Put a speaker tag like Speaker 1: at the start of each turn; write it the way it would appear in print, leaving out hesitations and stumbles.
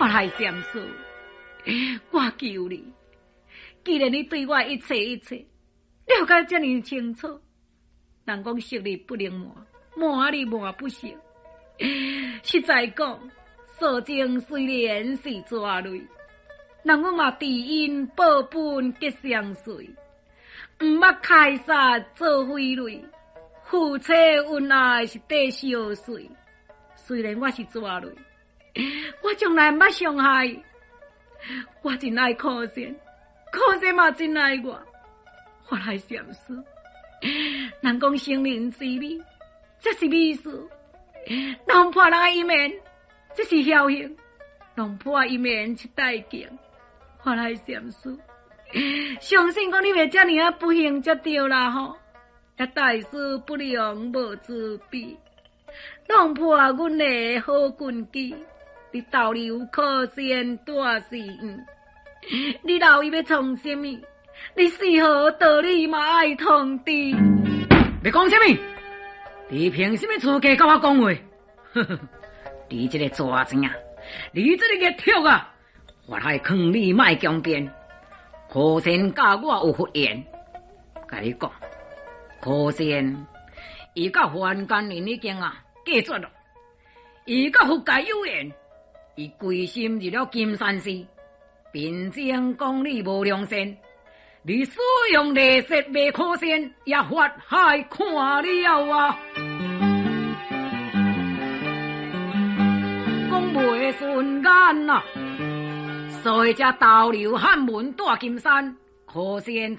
Speaker 1: 法海禪師，我求你，既然你對我一切一切了解遮爾清楚，人講識你不能瞞，瞞你瞞不識。實在講，素貞雖然是蛇類，人阮嘛知恩報本結相隨，毋捌開殺做匪類，夫妻恩愛是綴相隨。雖然我是蛇類，我從來毋捌傷害。我真愛可仙，可仙嘛真愛我。法海禪師，人講成人之美，這是美事；弄破人的姻緣，這是僥倖；弄破姻緣是代價。法海禪師，相信講你袂遮爾仔不幸才對啦吼！大師不能無慈悲，弄破阮的好根基。你逗留可仙大寺院，你留伊欲創啥物？你死何道理嘛愛通知？
Speaker 2: 欲講啥物？你憑啥物資格佮我講話？你這個蛇精啊！你這個孽畜啊！法海勸你莫強辯，可仙佮我有佛緣，共你講，可仙伊佮凡間人已經啊隔絕了，伊佮佛界有緣。伊歸心入了金山寺，貧僧講你無良善，你使用麗色賣可仙，也法海看了啊，講袂順眼啊，所以才逗留漢門大金山，可仙。